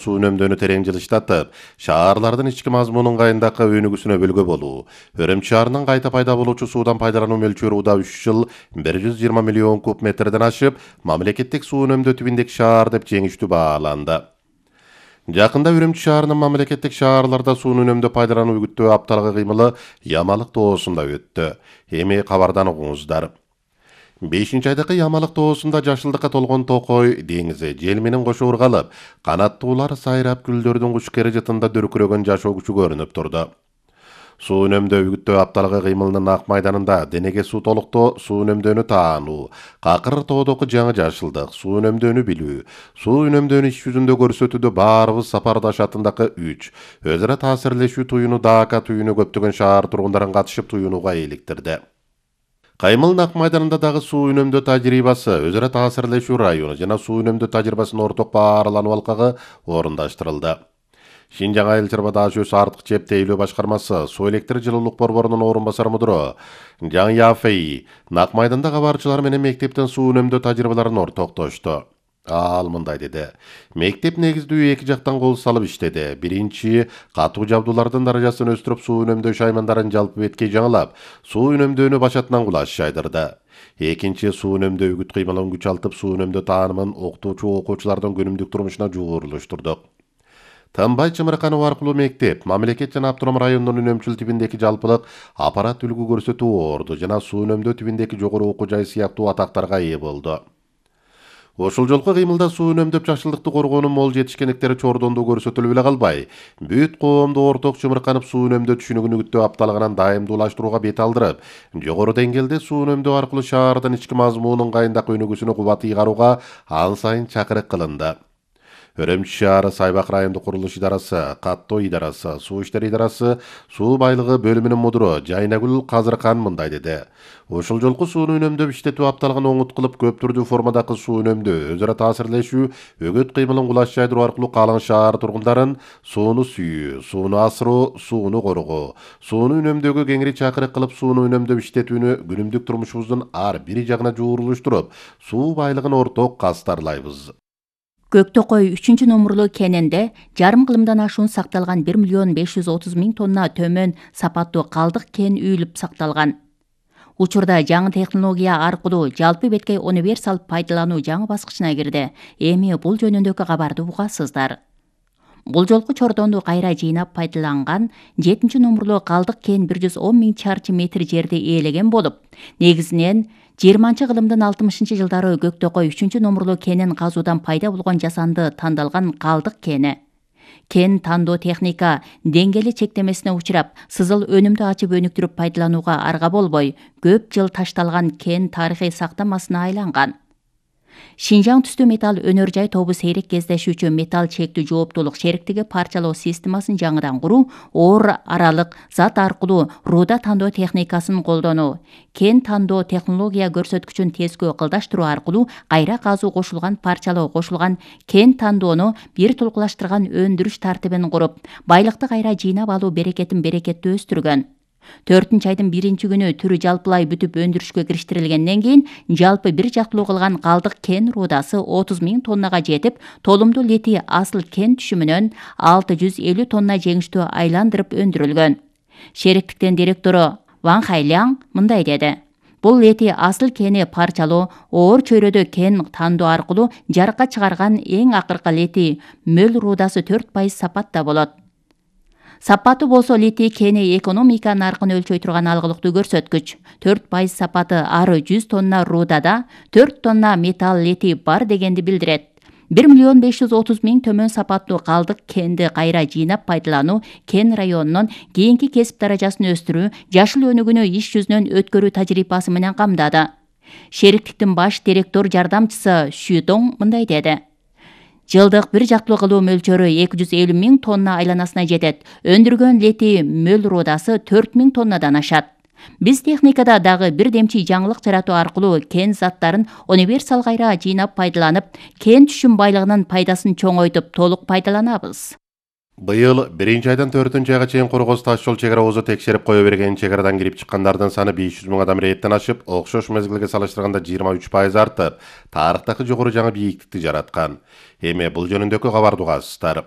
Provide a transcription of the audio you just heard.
Суу үнөмдөөнү терең жылыштатып, шаарлардын ички мазмунун кайындакы өнүгүүсүнө бөлгө болуу. Өрөм шаарынын кайта пайда болуучу суудан пайдалануу мөлчөрү уда 3 жыл 120 миллион куб метрден ашып, мамлекеттик суу үнөмдөө түбүндөгү шаар деп жеңиштүү бааланды. Жакында Үрүмчү шаарынын мамлекеттик шаарларда сууну үнөмдөө пайдалануу үгүттөө апталыгы кыймылы Ямалык тоосунда өттү. Эми кабардан угуңуздар. 5-айдагы Ямалык тоосунда жашылдыкка толгон Токой деңизи жел менен кошо ыргалып, канаттуулар сайрап гүлдөрдүн куш кережетинде дүркүрөгөн жашоо күчү көрүнүп турду. Суу үнөмдөө үгүттөө апталыгы кыймылынын ак майданында денеге суу толуктоо, суу үнөмдөөнү таануу, какыр тоодогу жаңы жашылдык, суу үнөмдөөнү билүү, суу үнөмдөөнү иш жүзүндө көрсөтүүдө баарыбыз сапардаш атындагы 3 өз ара таасирлешүү туюну дака туюну көптөгөн шаар тургундарын катышып туюнууга иликтирди. Каймыл ак майданында дагы суу үнөмдөө тажрыйбасы, өз ара таасирлешүү району жана суу үнөмдөө тажрыйбасынын орток бааралануу алкагы орундаштырылды. Шинжаң айыл чарба даш өз артык чеп тейлөө башкармасы суу электр жылуулук борборунун орун басары мудуру Жан Яфей нак майданда кабарчылар менен мектептен суу үнөмдөө тажрыйбаларын ортоктошту. Ал мындай деди. Мектеп негиздүү эки жактан кол салып иштеди. Биринчи, катуу жабдуулардын даражасын өстүрүп суу үнөмдөө шаймандарын жалпы беткей жаңылап, суу үнөмдөөнү башатынан кулаш жайдырды. Экинчи, суу үнөмдөө үгүт кыймылын күчалтып, суу үнөмдөө таанымын окуучу-окуучулардын күнүмдүк турмушуна жуурулуштурдук. Тынбай Чымырканов аркылуу мектеп, мамлекет жана автоном райондун үнөмчүл тибиндеги жалпылык аппарат үлгү көрсөтүү орду жана суу үнөмдөө тибиндеги жогору окуу жай сыяктуу атактарга ээ болду. Ошол жолку кыймылда суу үнөмдөп жашылдыкты коргоонун мол жетишкендиктери чордондуу көрсөтүлүп эле калбай, бүт коомду орток Чымырканов суу үнөмдөө түшүнүгүн үгүттөө апталыгынан дайымдуулаштырууга бет алдырып, жогору деңгээлде суу үнөмдөө аркылуу шаардын ички мазмунунун кайындак өнүгүүсүнө кубат ыйгарууга ан сайын чакырык кылынды. Өрөмчү шаары Сайбак райондук курулуш идарасы, Катто идарасы, суу иштери идарасы, суу байлыгы бөлүмүнүн мудуру Жайнагүл Казыркан мындай деди. Ошол жолку сууну үнөмдөп иштетүү апталыгын оңут кылып, көп түрдүү формадагы суу үнөмдөө, өз ара таасирлешүү, өгөт кыймылын кулаш жайдыруу аркылуу калың шаар тургундарын сууну сүйүү, сууну асыруу, сууну коргоо, сууну үнөмдөөгө кеңири чакырык кылып, сууну үнөмдөп иштетүүнү күнүмдүк турмушубуздун ар бир жагына жуурулуштуруп, суу байлыгын орток кастарлайбыз. Көктөкөй 3-номурлуу кенинде жарым кылымдан ашуун сакталган 1.530.000 тонна төмөн сапаттуу калдык кен үйүлүп сакталган. Учурда жаңы технология аркылуу жалпы беткей универсал пайдалануу жаңы баскычына кирди. Эми бул жөнүндөгү кабарды угасыздар. Бул жолку чордонду кайра жыйнап пайдаланган 7-номурлуу калдык кен 110.000 чарчы метр жерди ээлеген болуп, негизинен 20-кылымдын 60-жылдары Көктөкөй 3-номурлуу кенин казуудан пайда болгон жасанды тандалган калдык кени. Кен тандоо техника деңгээли чектемесине учурап, сызыл өнүмдү ачып өнүктүрүп пайдаланууга арга болбой, көп жыл ташталган кен тарыхый сактамасына айланган. Шинжаң түстүү металл өнөр жай тобу сейрек кездешүүчү металл чектүү жооптуулук шериктиги парчалоо системасын жаңыдан куруу, оор аралык зат аркылуу руда тандоо техникасын колдонуу, кен тандоо технология көрсөткүчүн тескөө кылдаштыруу аркылуу кайра казуу кошулган парчалоо кошулган кен тандоону бир тулкулаштырган өндүрүш тартибин куруп, байлыкты кайра жыйнап алуу берекетин берекеттүү өстүргөн. 4-айдын 1-күнү түрү жалпылай бүтүп өндүрүшкө кириштирилгенден кийин жалпы бир жактылуу кылган калдык кен рудасы 30.000 тоннага жетип, толумдуу литий асыл кен түшүмүнөн 650 тонна жеңиштүү айландырып өндүрүлгөн. Шериктиктин директору Ван Хайляң мындай деди. Бул литий асыл кени парчалоо, оор чөйрөдө кен тандоо аркылуу жарыкка чыгарган эң акыркы литий мөл рудасы 4% сапатта болот. Сапаты болсо литий кени экономика наркын өлчөй турган алгылыктуу көрсөткүч. 4% сапаты ары 100 тонна рудада 4 тонна металл литий бар дегенди билдирет. 1.530.000 төмөн сапаттуу калдык кенди кайра жыйнап пайдалануу кен районунун кийинки кесип даражасын өстүрүү, жашыл өнүгүүнү иш жүзүнөн өткөрүү тажрыйбасы менен камдады. Шериктиктин баш директор жардамчысы Шүдоң мындай деди. Жылдык бир жактылуу кылуу мөлчөрү 250.000 тонна айланасына жетет. Өндүргөн литий мөл рудасы 4.000 тоннадан ашат. Биз техникада дагы бир демчи жаңылык жаратуу аркылуу кен заттарын универсал кайра жыйнап пайдаланып, кен түшүм байлыгынын пайдасын чоңойтуп толук пайдаланабыз. Быйыл 1-айдан 4-айга чейин Кыргыз таш жол чек ара озу текшерип кое берген чек арадан кирип чыккандардын саны 500 000 адам рейттен ашып, окшош мезгилге салыштырганда 23% артып, тарыхтагы жогору жаңы бийиктикти жараткан. Эми бул жөнүндөгү кабарды угасыздар.